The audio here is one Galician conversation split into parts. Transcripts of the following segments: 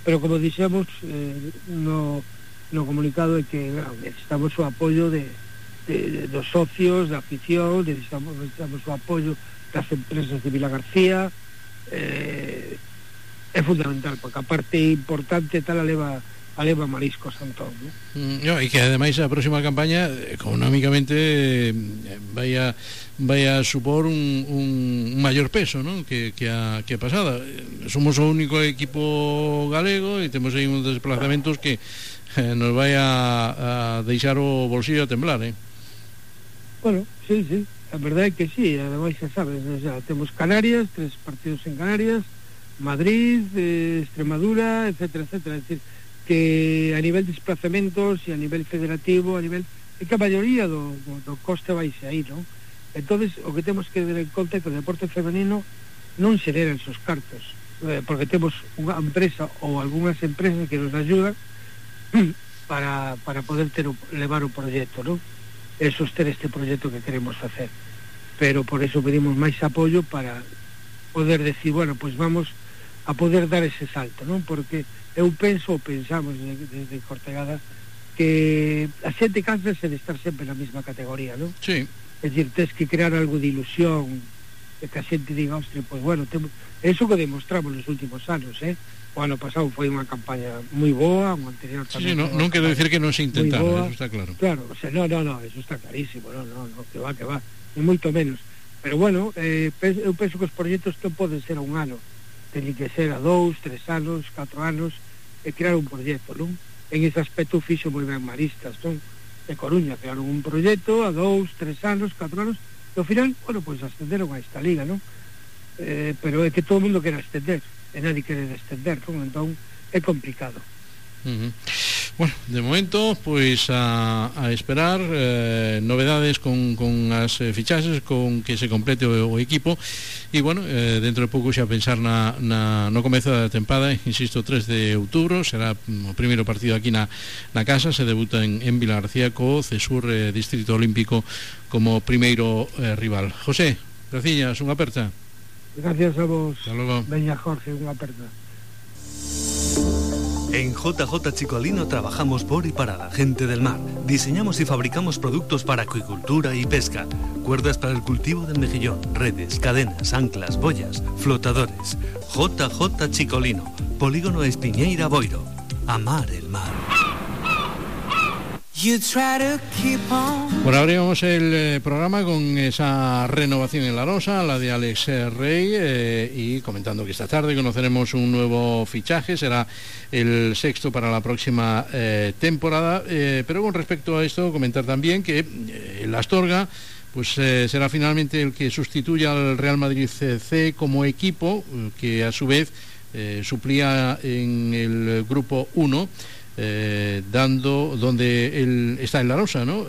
pero como dixemos no comunicado é que necesitamos o apoio dos socios, da afición, necesitamos o apoio das empresas de Vila García. É fundamental, porque a parte importante tal a leva Mariscos Antón, ¿no? E que ademais a próxima campaña económicamente vai a supor un maior peso, ¿no? que a pasada. Somos o único equipo galego e temos aí uns desplazamentos que nos vai a deixar o bolsillo a temblar, Bueno, sí, a verdade é que sí, ademais xa sabes, xa temos Canarias, 3 partidos en Canarias, Madrid, Extremadura, etcétera, etcétera. Es decir, que a nivel de desplazamentos e a nivel federativo, é que a maioría do coste vai ser aí, non? Entonces, o que temos que ter en conta é que o deporte femenino non xereran esos cartos, porque temos unha empresa ou algunhas empresas que nos ayudan para poder levar o proxecto, non? E soster este proxecto que queremos facer. Pero por eso pedimos máis apoio para poder decir, bueno, pues vamos a poder dar ese salto, non? Porque eu pensamos desde Cortegada que a xente cánsase de estar sempre na mesma categoría, non? Sí. É dicir, tens que crear algo de ilusión, de que a xente diga, hostia, pues bueno, eso que demostramos nos últimos anos, O ano pasado foi unha campaña moi boa, o anterior tamén. Sí, non quero decir que non se intentara, eso está claro. Claro, o sea, no, eso está clarísimo, no, que va, e moito menos. Pero bueno, eu penso que os proxectos non poden ser a un ano, teñen que ser a 2, 3 anos, 4 anos, e crear un proxecto, non? En ese aspecto fixo moi ben Maristas, non? De Coruña, crearon un proxecto a 2, 3 anos, 4 anos, e ao final, bueno, pois ascenderon a esta liga, non? Pero é que todo o mundo quere ascender, e nadie quere descender, non? Entón, é complicado. Bueno, de momento, pois a esperar novedades con as fichaxes, con que se complete o equipo, e bueno, dentro de pouco xa pensar no comezo da tempada, insisto, 3 de outubro será o primeiro partido aquí na casa, se debuta en Vila García co Cesur Distrito Olímpico como primeiro rival. José, graciñas, unha aperta. Gracias a vos. Hasta luego. Veña, Jorge, unha aperta. En JJ Chicolino trabajamos por y para la gente del mar. Diseñamos y fabricamos productos para acuicultura y pesca. Cuerdas para el cultivo del mejillón, redes, cadenas, anclas, boyas, flotadores. JJ Chicolino, Polígono Espiñeira Boiro. Amar el mar. Bueno, abrimos el programa con esa renovación en La Rosa, la de Alex Rey, y comentando que esta tarde conoceremos un nuevo fichaje, será el 6º para la próxima temporada, pero con respecto a esto comentar también que el Astorga pues será finalmente el que sustituya al Real Madrid C como equipo, que a su vez suplía en el grupo 1, dando donde él está en La Rosa, ¿no?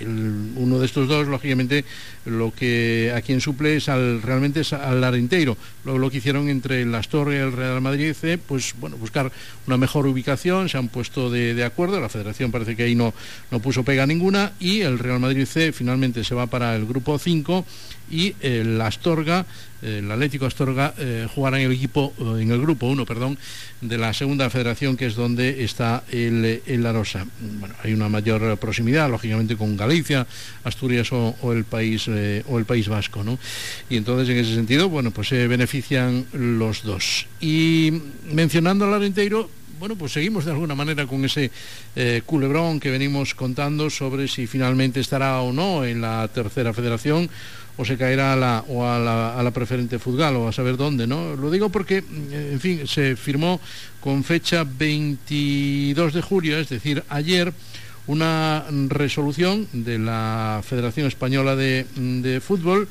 Uno de estos dos, lógicamente, lo que a quien suple es realmente es al Arenteiro. Luego lo que hicieron entre el Astorga y el Real Madrid C, pues bueno, buscar una mejor ubicación, se han puesto de acuerdo, la Federación parece que ahí no puso pega ninguna, y el Real Madrid C finalmente se va para el grupo 5 y el Astorga, el Atlético Astorga, jugará en el grupo 1, de la segunda federación, que es donde está el La Rosa. Bueno, hay una mayor proximidad, lógicamente, con Galicia, Asturias o el País Vasco, ¿no? Y entonces, en ese sentido, bueno, pues se benefician los dos. Y mencionando al Arenteiro, bueno, pues seguimos de alguna manera con ese culebrón que venimos contando sobre si finalmente estará o no en la tercera federación, o se caerá a la preferente Fútbol, o a saber dónde, ¿no? Lo digo porque, en fin, se firmó con fecha 22 de julio, es decir, ayer, una resolución de la Federación Española de Fútbol.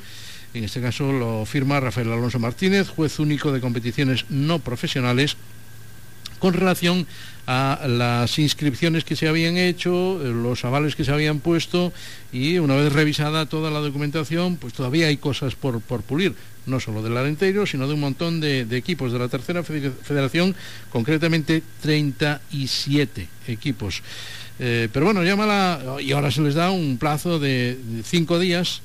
En este caso lo firma Rafael Alonso Martínez, juez único de competiciones no profesionales, con relación a las inscripciones que se habían hecho, los avales que se habían puesto, y una vez revisada toda la documentación, pues todavía hay cosas por pulir, no solo del Arenteiro, sino de un montón de equipos de la tercera federación, concretamente 37 equipos. Pero bueno, y ahora se les da un plazo de 5 días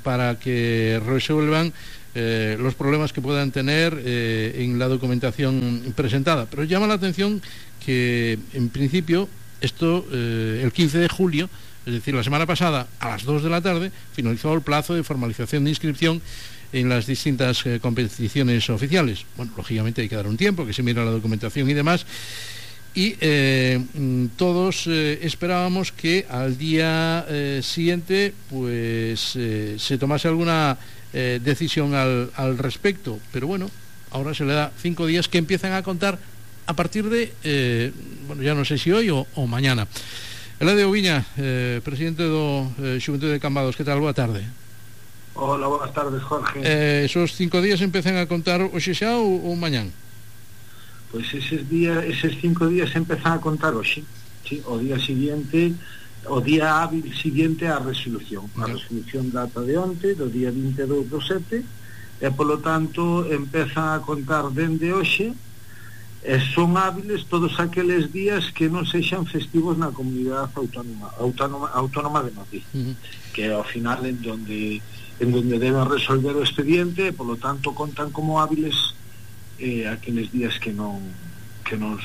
para que resuelvan los problemas que puedan tener en la documentación presentada. Pero llama la atención que, en principio, esto, el 15 de julio, es decir, la semana pasada, a las 2 de la tarde, finalizó el plazo de formalización de inscripción en las distintas competiciones oficiales. Bueno, lógicamente hay que dar un tiempo, que se mira la documentación y demás, y todos esperábamos que al día siguiente pues se tomase alguna decisión al respecto, pero bueno, ahora se le da 5 días que empiezan a contar a partir de, bueno, ya no sé si hoy o mañana. Eladio Viña, presidente do Xuventude de Cambados, que tal? Boa tarde. Hola, buenas tardes, Jorge. Esos 5 días empezan a contar hoxe xa ou mañán? Pois eses 5 días empezan a contar hoxe, sí, o día siguiente, o día hábil siguiente á resolución. A resolución data de onte, do día 22 do 7, e polo tanto empezan a contar dende hoxe, e son hábiles todos aqueles días que non sexan festivos na comunidade autónoma de Madrid, que ao final en donde deben resolver o expediente, e polo tanto contan como hábiles aqueles días que non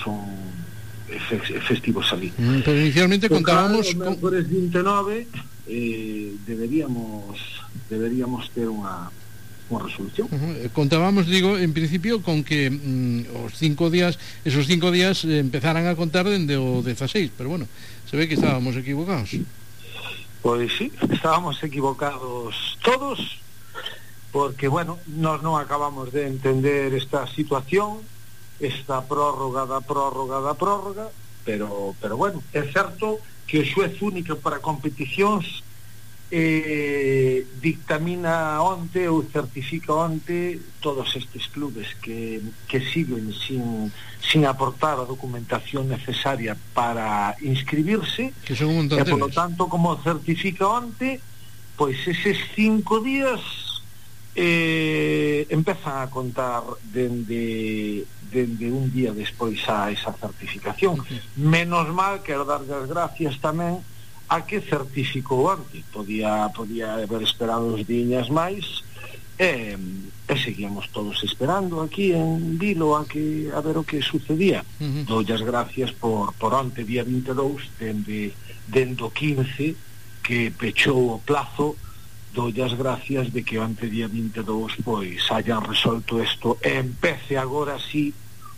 son festivos ali. Pero inicialmente contábamos o mércores 29 deberíamos ter unha resolución. Contábamos, digo, en principio con que esos 5 días empezaran a contar dende o 16, pero bueno, se ve que estábamos equivocados. Pois sí, estábamos equivocados todos, porque, bueno, nós non acabamos de entender esta situación, esta prórroga, pero bueno, é certo que o xuez único para competicións dictamina onte ou certifica onte todos estes clubes que siguen sin aportar a documentación necesaria para inscribirse, que son un montón e polo tanto, como certifica onte, pois eses 5 días empezan a contar dende un día despois a esa certificación. Menos mal, quero dar as gracias tamén a que certificou antes. Podía haber esperado uns diñas máis, e seguíamos todos esperando aquí en Vilo a ver o que sucedía. Doulle as gracias por onte, día 22, dende o 15 que pechou o plazo. Doulle as gracias de que onte, día 22, pois hayan resolto isto e empece agora sí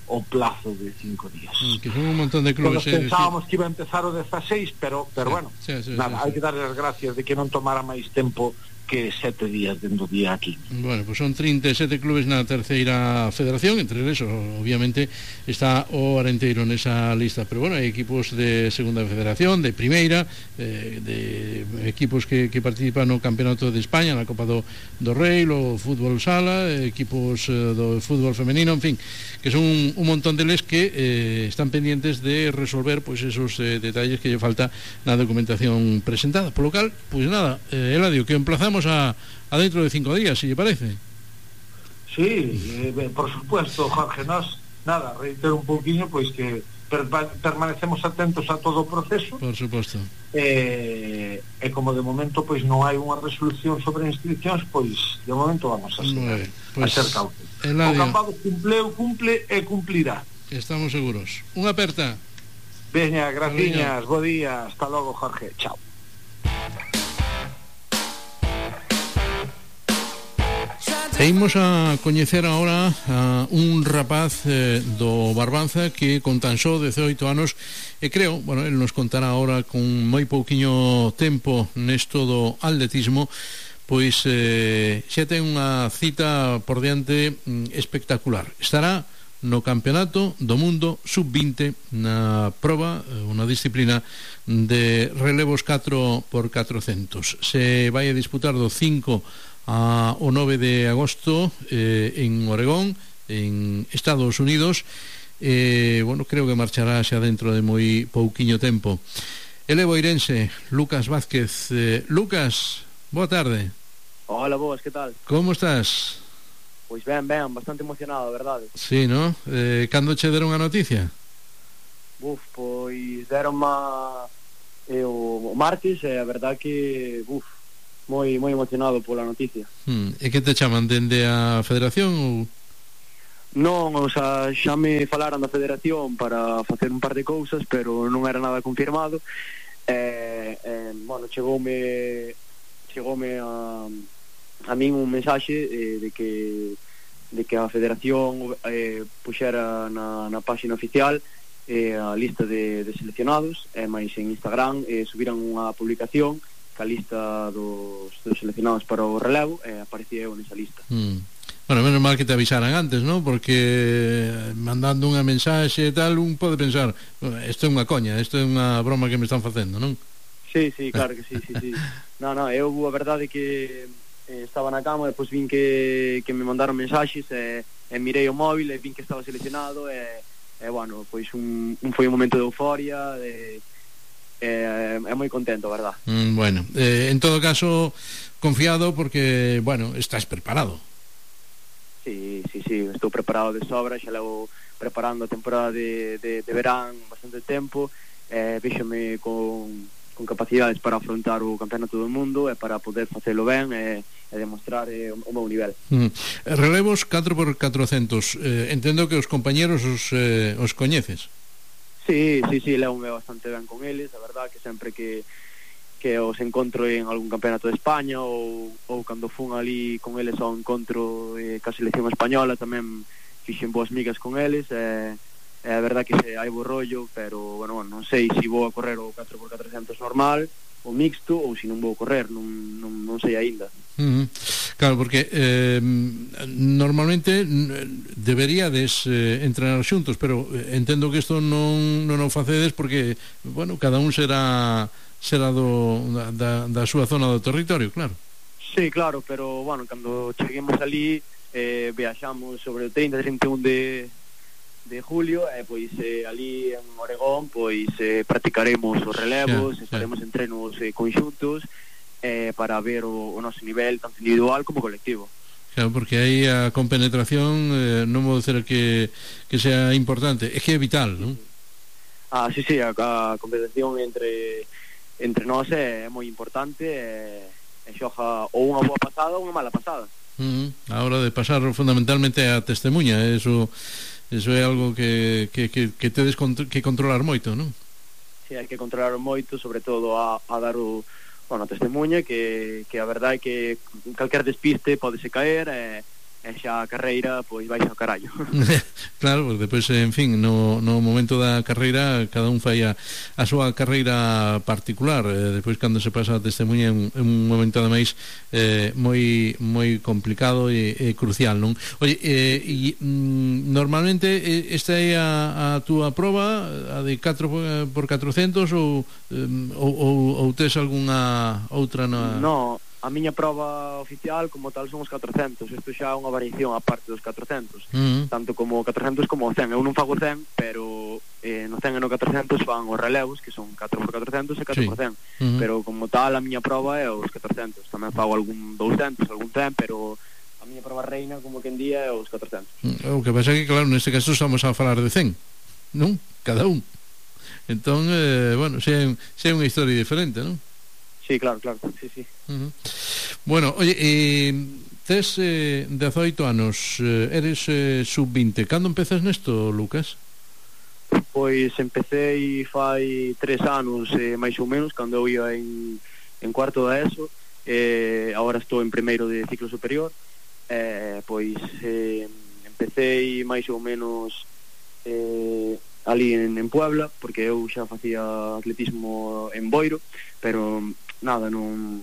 o plazo de 5 días. Que son un montón de clubes. Pensábamos que iba a empezar o 16, pero sí, bueno, sí, nada, hai que darle as gracias de que non tomara máis tempo que 7 días dentro día aquí. Bueno, pues son 37 clubes na terceira federación, entre esos obviamente está o Arenteiro nesa lista, pero bueno, hai equipos de segunda federación, de primeira, de equipos que participan no Campeonato de España, na Copa do Rei, o fútbol sala, equipos do fútbol femenino, en fin, que son un montón deles que están pendientes de resolver pues esos detalles que lle falta na documentación presentada. Por lo cal, pues nada, Eladio, que emplazamos a dentro de 5 días, si lle parece. Sí, por supuesto, Jorge, nos nada, reitero un pouquiño, pois que permanecemos atentos a todo o proceso. Por suposto. E como de momento pois non hai unha resolución sobre inscripcións, pois de momento vamos a ser cautos. O Campado cumple e cumplirá. Estamos seguros. Unha aperta. Veña, graciñas, bo día, hasta logo, Jorge, chao. E imos a coñecer agora a un rapaz do Barbanza que con tan só 18 anos, e creo, bueno, el nos contará agora con moi pouquiño tempo nesto do atletismo, pois xa ten unha cita por diante espectacular. Estará no Campeonato do Mundo Sub-20 na proba, unha disciplina de relevos 4x400. Se vai a disputar do 5 o 9 de agosto en Oregón, en Estados Unidos. Bueno, creo que marchará xa dentro de moi pouquiño tempo. Ele boirense, Lucas Vázquez. Lucas, boa tarde. Hola, boas, que tal? Como estás? Pois ben, bastante emocionado, verdade? Sí, no? Cando che deron a noticia? Pois deron o martes, e a verdade que moi emocionado pola noticia. E que te chaman dende a Federación ou? Non, o sea, xa me falaran da Federación para facer un par de cousas, pero non era nada confirmado. Bueno, chegoume a min un mensaxe de que a Federación puxera na páxina oficial a lista de seleccionados, máis en Instagram subiran unha publicación ca lista dos seleccionados para o relevo, aparecía eu nesa lista. Bueno, menos mal que te avisaran antes, ¿no? Porque mandando unha mensaxe e tal, un pode pensar, isto é unha coña, isto é unha broma que me están facendo, non? Sí, claro que sí. No, eu a verdade que estaba na cama, depois vin que me mandaron mensaxes e mirei o móvil e vin que estaba seleccionado e bueno, pois foi un momento de euforia moi contento, a verdad. Bueno, en todo caso confiado porque, bueno, estás preparado. Sí, estou preparado de sobra, xa levo preparando a temporada de verán bastante tempo, véxome con capacidades para afrontar o campeonato do mundo e para poder facelo ben e demostrar o meu nivel. Relevos 4x400, entendo que os compañeros os coñeces. Sí, levo-me bastante ben con eles, a verdad que sempre que os encontro en algún campeonato de España ou cando fun ali con eles ao encontro ca selección española tamén fixen boas migas con eles a verdad que hai bo rollo, pero bueno, non sei se vou a correr o 4x400 normal o mixto ou se non vou correr, non sei aínda. Claro, porque normalmente deberíades entrenar xuntos, pero entendo que isto non o facedes porque, bueno, cada un será da súa zona do territorio, claro. Sí, claro, pero, bueno, cando cheguemos ali viaxamos sobre o 30-31 de julio e pois ali en Oregón pois practicaremos os relevos, faremos entrenos conxuntos para ver o noso nivel tanto individual como colectivo. Claro, porque aí a compenetración non vou dizer que sea importante, é que é vital, non? Sí, a compenetración entre nós é moi importante e xoja ou unha boa pasada ou unha mala pasada. A hora de pasar fundamentalmente a testemunha, eso é algo que tedes que controlar moito, non? Sí, hai que controlar moito, sobre todo a dar a testemunha que a verdade é que calquer despiste podese caer e xa a carreira pois vai ao carallo. Claro, porque depois, en fin, no momento da carreira cada un fai a súa carreira particular, depois cando se pasa a testemunha é un momento ademais moi complicado e crucial, non? Oye, normalmente esta é a túa proba, a de 4x400 ou tes algunha outra na... No, a miña proba oficial como tal son os 400, isto xa é unha variación a parte dos 400, tanto como o 400 como o 100. Eu non fago 100, pero no 100 e no 400 fan os relevos, que son 4x400 e 4x100, pero como tal a miña proba é os 400. Tamén fago algún 200, algún 100, pero a miña proba reina, como que en día, é os 400. O que pasa é que, claro, neste caso estamos a falar de 100, non? Cada un. Entón, bueno, xa é unha historia diferente, non? Sí, claro, sí. Bueno, oye, tes 18 anos, eres sub-20. Cando empezas nesto, Lucas? Pois empecé fai 3 anos, máis ou menos, cando eu ia en cuarto da ESO, agora estou en primeiro de ciclo superior, pois empecé máis ou menos ali en Puebla, porque eu xa facía atletismo en Boiro, pero nada, non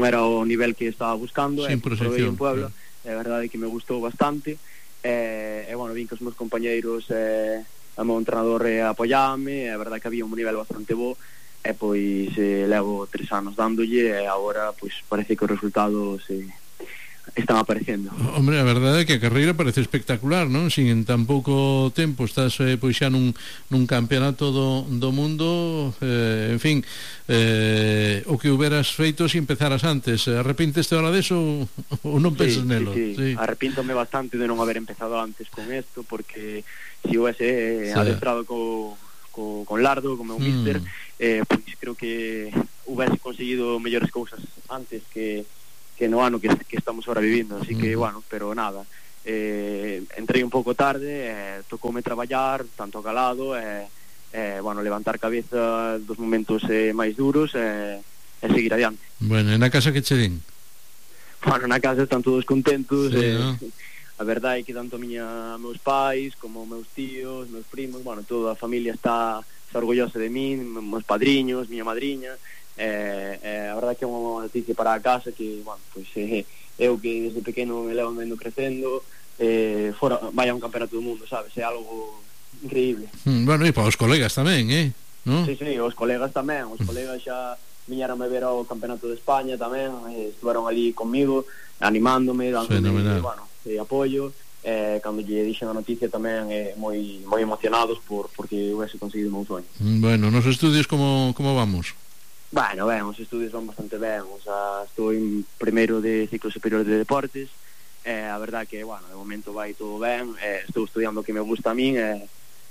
era o nivel que estaba buscando, probei en Puebla, é verdade que me gustou bastante, e bueno, vin que os meus compañeiros o meu entrenador apoiáme, é verdade que había un nivel bastante bo, e pois levo 3 anos dándolle, e agora pois parece que os resultados están aparecendo. Hombre, a verdade é que a carreira parece espectacular, non? Sin en tan pouco tempo estás pois xa nun campeonato do mundo, en fin, o que hubieras feito se empezaras antes. Arrepinteste ahora deso ou non pensas nelo? Sí. Arrepíntome bastante de non haber empezado antes con esto, porque se houvese adestrado con Lardo, como un míster, pois creo que hubiese conseguido mellores cousas antes que no ano que estamos ahora vivindo, así que, bueno, pero nada, entrei un pouco tarde, tocoume traballar tanto calado, bueno, levantar cabeza dos momentos máis duros e seguir adiante. Bueno, e na casa que che din? Bueno, na casa están todos contentos, sí, ¿no? A verdade é que tanto meus pais como meus tíos, meus primos, bueno, toda a familia está orgullosa de min, meus padriños, miña madriña, a verdade é que é unha noticia para a casa que, bueno, pois eu que desde pequeno me levo vendo crecendo, fora, vai a un campeonato do mundo, sabes, é algo increíble. Bueno, e para os colegas tamén, ¿no? Sí, os colegas tamén, os colegas xa viñeron a ver ao campeonato de España tamén, estuveron ali comigo, animándome, dándome, bueno, apoio, cando lle dixen a noticia tamén moi emocionados porque hubiese conseguido un soño. Bueno, nos estudios como vamos? Bueno, ben, os estudios van bastante ben, o sea, estou en primeiro de ciclo superior de deportes, a verdad que, bueno, de momento vai todo ben, estou estudiando o que me gusta a min,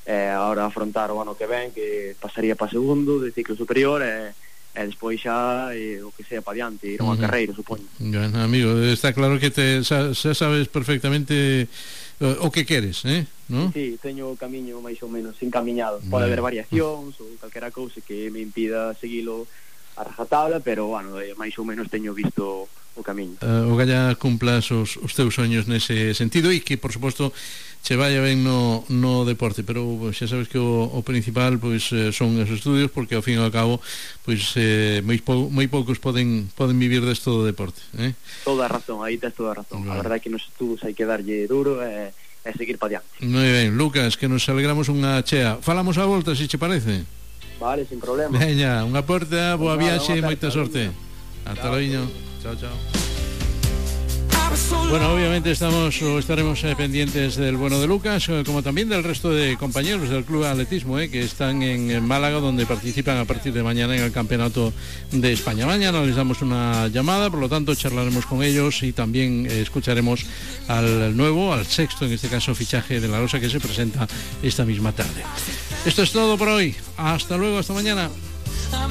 agora afrontar o ano que ven, que pasaría para segundo de ciclo superior, e despois xa o que sea para diante, ir a unha carreira, supoño. Bueno, amigo, está claro que xa sabes perfectamente o que queres, ¿no? Sí, teño o camiño máis ou menos encaminhado. Pode haber variacións ou calquera cousa que me impida seguilo a rajatabla, pero, bueno, máis ou menos teño visto o camiño. O galla cumplas os teus soños nese sentido e que, por suposto, che vaya ben no deporte, pero xa sabes que o principal pois son os estudios, porque ao fin e ao cabo pois moi poucos poden vivir desto do deporte, Toda a razón, aí tes toda a razón. A verdade é que nos estudos hai que darlle duro e seguir pa diante. Moi ben, Lucas, que nos alegramos unha chea. Falamos a volta, se che parece. Vale, sin problema. Veña, unha porta, boa viaxe e moita sorte. Hasta logo. Chao. Bueno, obviamente estaremos pendientes del bueno de Lucas, como también del resto de compañeros del Club de Atletismo, que están en Málaga, donde participan a partir de mañana en el Campeonato de España. Mañana les damos una llamada, por lo tanto charlaremos con ellos y también escucharemos al sexto, en este caso, fichaje de La Rosa, que se presenta esta misma tarde. Esto es todo por hoy. Hasta luego, hasta mañana.